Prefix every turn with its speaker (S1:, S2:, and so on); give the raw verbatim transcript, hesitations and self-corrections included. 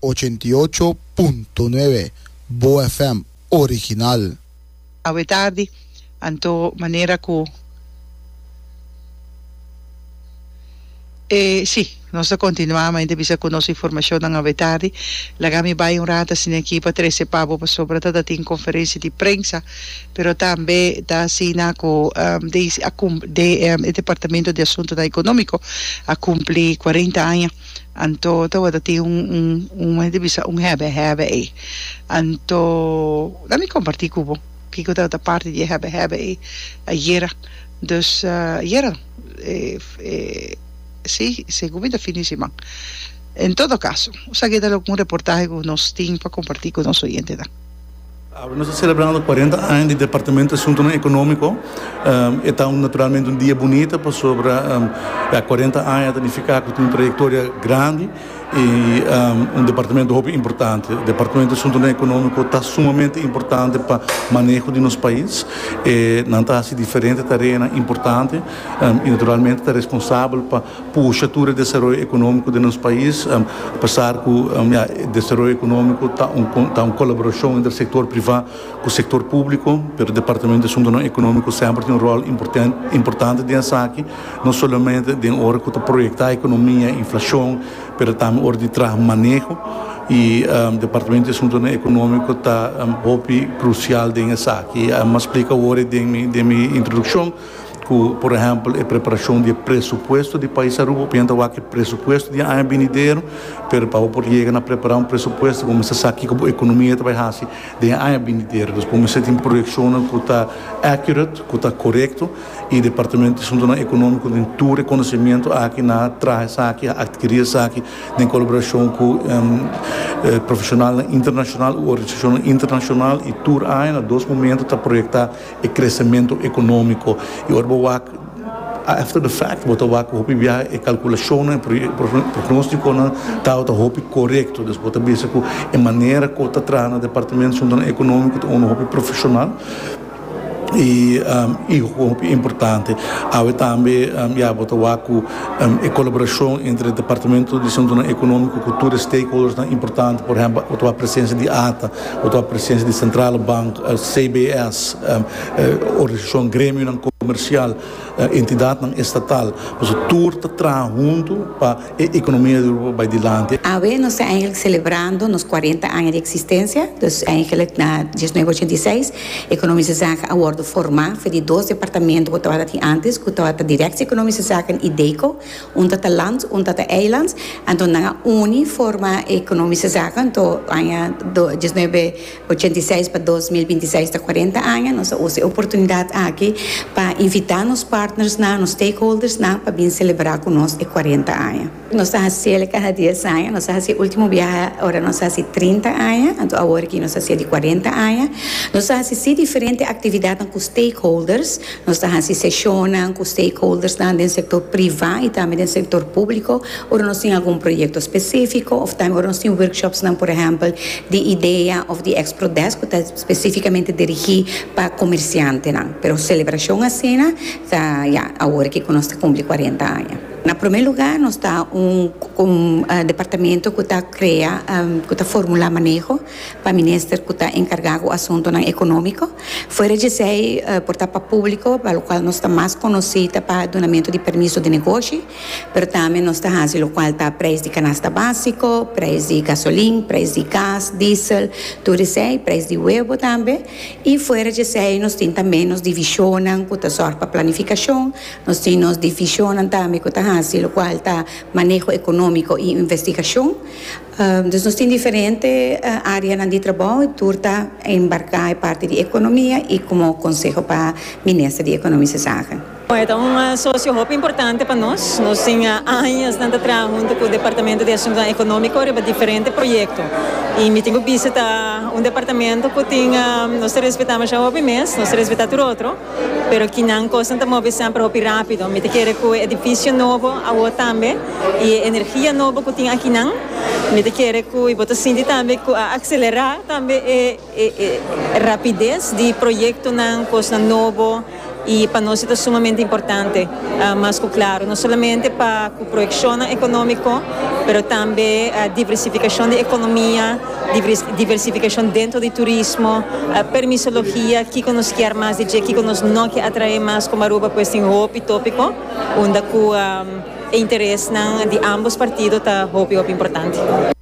S1: Ochenta i ocho punto nuebe Bo F M original.
S2: Awe tardi, anto manera ku e sí, nos ta kontinuá mainta bisa ku nos informashonnan awe tardi. Laga mi bai un rato asina aki pa trese pa bo pasobra ta tin konferensia di prensa, pero tambe ta asina ku um, de, a cum, de, um, e Departamento di Asuntonan Ekonómiko a kumpli kuarenta aña. Anto tabata tin un un un manera di bisa un hebe hebe ei. Anto laga mi kompartí ku bo kiko tabata parti di e hebe hebe ei ayera. Dus uh, ayera no. Eh, eh, sí, segun mi ta fin di siman. En todo caso, esaki ta un reportahe ku nos tin pa kompartí ku nos oyentenan.
S3: Nos ta selebrando kuarenta aña di Departamento di Asuntonan Ekonómiko. Um, ta un, naturalmente un dia bunita pasobra um, ja, kuarenta aña ta nifiká ku tin un trayektoria grandi i um, un departamento hopi importante. Departamento di Asuntonan Ekonómiko ta sumamente importante pa maneho di nos pais. E, nan ta hasi diferente tarea importante um, i naturalmente ta responsabel pa pusha tur e desaroyo ekonómiko di nos pais, um, apesar ku um, ja, desaroyo ekonómiko ta un, ta un kolaborashon entre sektor privá ku sektor públiko, pero Departamento di Asuntonan Ekonómiko semper tin un ròl importante, importante den esaki, no solamente den ora ku ta proyektá ekonomia, inflashon, pero tambe ora di traha maneho i um, Departamento di Asuntonan Ekonómiko ta um, hopi krusial den esaki. Um, m'a splika awor den mi, den mi introdukshon ku, por ehèmpel, e preparashon di presupuesto di pais Aruba, pensa ku presupuesto di aña benidero, pero pa por yega na prepará un presupuesto, kuminsá sa ku ekonomia ta bai hasi den aña benidero. Anto, kuminsá tin proyekshon ku ta accurate, ku ta korekto, i Departamento di Asuntonan Ekonómiko tin tur konosementu aki nan a traha esaki, atkirí esaki, den kolaborashon ku um, eh, profeshonal internashonal, organisashon internashonal, i tur aña, na dos momento, ta proyektá e kresementu ekonómiko. I ora bo wak after the fact, bo ta wak hopi biaha e kalkulashon e pronóstiko ta ta hopi korekto. Dus bo ta bisa ku e manera ku ta traha na Departamento di Asuntonan Ekonómiko ta un hopi profeshonal i um, i hopi importante. Awe tambe um, ja, bo ta wak ku um, e kolaborashon entre Departamento di Asuntonan Ekonómiko ku tur stakeholders ta importante, por ehèmpel, e presensia di A T A, e presensia di Centrale Bank, uh, C B S, um, uh, organisashon gremio komersial, uh, entidat estatal. Dus tur ta traha huntu pa e ekonomia di Aruba bai dilanti.
S4: Awe nos ta eigenlijk selebrando nos kuarenta aña di eksistensia, dus eigenlijk na diesnuebe ochenta i seis, Economische Zaken a wordo formá for di dos departamento ku tabata antes, ku tabata Directie Economische Zaken i DECO, un tata land, un tata eiland, anto nan a uni forma Economische Zaken, anto aña diesnuebe ochenta i seis pa dos mil binti i seis ta kuarenta aña. Nos a usa e oportunidat aki pa invitá nos partners nan, nos stakeholders nan, pa bin selebrá ku nos e kuarenta aña. Nos ta hasi kada dies aña, nos a hasi último biaha, ora nos a hasi trinta aña, anto awor aki nos ta hasi di kuarenta aña. Nos ta hasi diferente aktividat ku stakeholders, nos ta hasi seshon ku stakeholders nan den sektor privá i tambe den sektor públiko, ora nos tin algun proyekto spesífiko, òf tambe ora nos tin workshops nan, por ehèmpel, di idea òf di Exprodesk, ku ta spesífikamente dirigí pa komersiantenan. Pero selebrashon asina, ta, ja, awor ku nos ta kumpli kuarenta aña. Na promé lugá, nos ta un, un uh, departamento ku ta krea, um, ku ta formulá maneho pa minister ku ta enkargá ku asuntonan ekonómiko. Fuera di esei, uh, por ta pa públiko, pa lokual nos ta mas konosí pa dunamentu di permiso di negoshi, pero tambe nos ta hasi lokual ta preis di kanasta básiko, preis di gasolin, preis di gas, diesel, tur esei, preis di webu tambe. I fuera di esei, nos tin tambe nos divishon ku ta sòru pa planifikashon, nos tin nos divishon tambe ku ta hasi lokual ta maneho ekonómiko i investigashon. Um, dus nos tin diferente uh, área di trabou i tur ta enmarká parti di ekonomia i komo konseho pa minister di Economische Zaken.
S5: E ta un sosio hopi importante pa nos. Nos tin aña ta traha huntu ku Departamento di Asunto Ekonómiko riba diferente proyekto. I mi tin ku bisa ta un departamento ku tin, nos ta respetá masha hopi mes, nos ta respetá tur otro, pero akinan kos ta move semper hopi rápido. Mi ta kere ku edifisio nobo awo tambe i energia nobo ku tin akinan. Mi ta kere ku bo ta sinti tambe ku a aselerá tambe e, e, e rapides di proyektonan, kos nobo. Y pa nos ta sumamente importante, uh, mas claro, no solamente pa e proyeccion economico, pero tambe e diversificacion di economia, diversificacion den di turismo, permisologia, kico nos kier mas, di kico nos no kier atrae mas como Aruba, pues tin hopi topico, unda cu um, e interes di ambos partido ta hopi hopi importante.